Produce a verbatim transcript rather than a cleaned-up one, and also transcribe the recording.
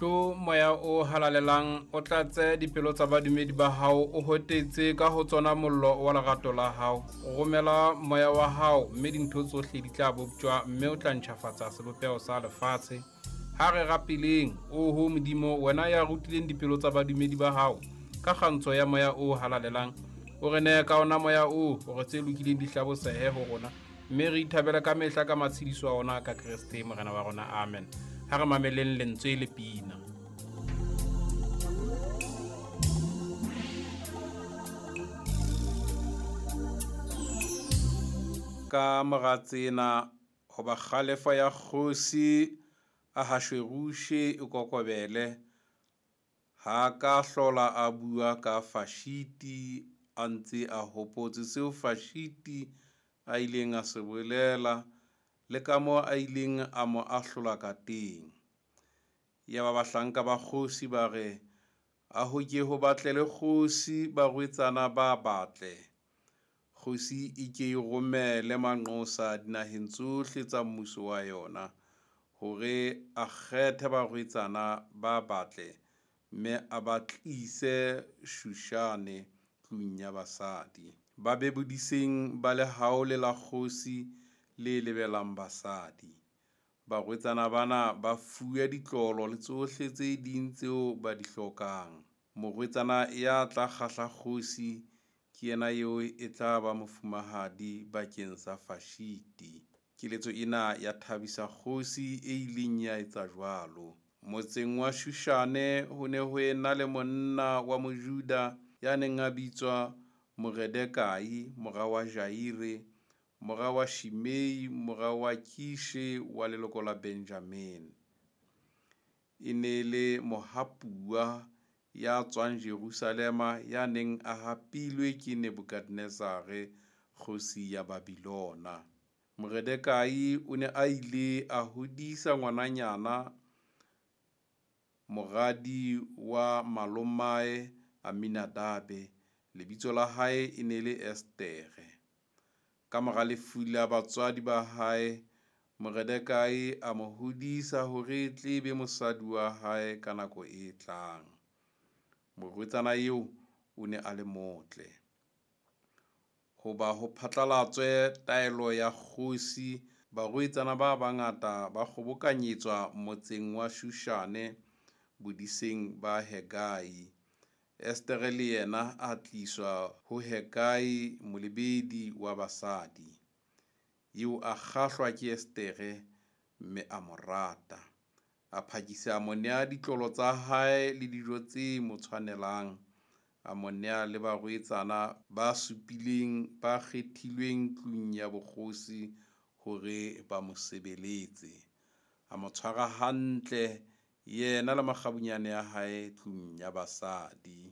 Tlo moya o halalelang, o tlatse dipelo tsa badumedi ba hao, o hotetse ka ho tsona mollo wa lerato la hao. Romela moya wa hao, mme dintho tsohle di tla boptjwa, mme o tla ntjhafatsa sebopeho sa lefatshe. Ha re rapeleng, oho Modimo, wena ya rutileng dipelo tsa badumedi ba hao ka kgantsho ya moya o halalelang, o re nehe ka ona moya oo hore tse lokileng di hlabosehe ho rona, mme re ithabele ka mehla ka matshediso a ona ka Kreste Morena wa rona. Amen. Ha re mameleng lentswe le pina. Ka mora tsena, hoba kgalefo ya kgosi Ahashuerushe e kokobele, ha ka hlola a bua ka Fashiti, a ntse a hopotse seo Fashiti a ileng a se bolela le kamoo a ileng a mo ahlola kateng. Yaba bahlanka ba kgosi ba re, a ho ke ho batlele kgosi barwetsana ba batle. Kgosi e ke e romele manqosa dinaheng tsohle tsa mmuso wa yona, hore a kgethe barwetsana ba batle, mme a ba tlise Shushane tlung ya basadi. Ba be bodiseng ba lehaole la kgosi le lebelang basadi. Barwetsana bana ba fuwe ditlolo le tsohle tse ding tseo ba di hlokang. Morwetsana ya tla kgahla kgosi ke yena eo e tla ba mofumahadi bakeng sa Fashiti. Keletso ena ya thabisa kgosi e ileng ya etsa jwalo. Motseng wa Shushane ho ne ho ena le monna wa Mojuda ya neng a bitswa Moredekai, mora wa Jaire, mora wa Shimei, mora wa Kishe wa leloko la Benjamine. E ne le mohapuwa ya tswang Jerusalema ya neng a hapilwe ke Nebukadnezare, kgosi ya Babilona. Moredekai o ne a ile a hodisa ngwananyana, moradi wa malomae Aminadabe, lebitso la hae e ne le Estere. Ka mora lefu la batswadi ba hae, Moredekai a mo hodisa hore e tle be mosadi wa hae ka nako e tlang. Morwetsana eo o ne a le motle. Hoba ho phatlalatswe taelo ya kgosi, barwetsana ba bangata ba kgobokanyetswa motseng wa Shushane bodiseng ba Hegai. Estere le yena a tliswa ho Hegai, molebedi wa basadi. Eo a kgahlwa ke Estere, mme a mo rata. A phakisa a mo nea ditlolo tsa hae le dijo tse mo tshwanelang. A mo nea le barwetsana ba supileng ba kgethilweng tlung ya bokgosi hore ba mo sebeletse. A mo tshwara hantle yena le makgabunyane a hae tlung ya basadi.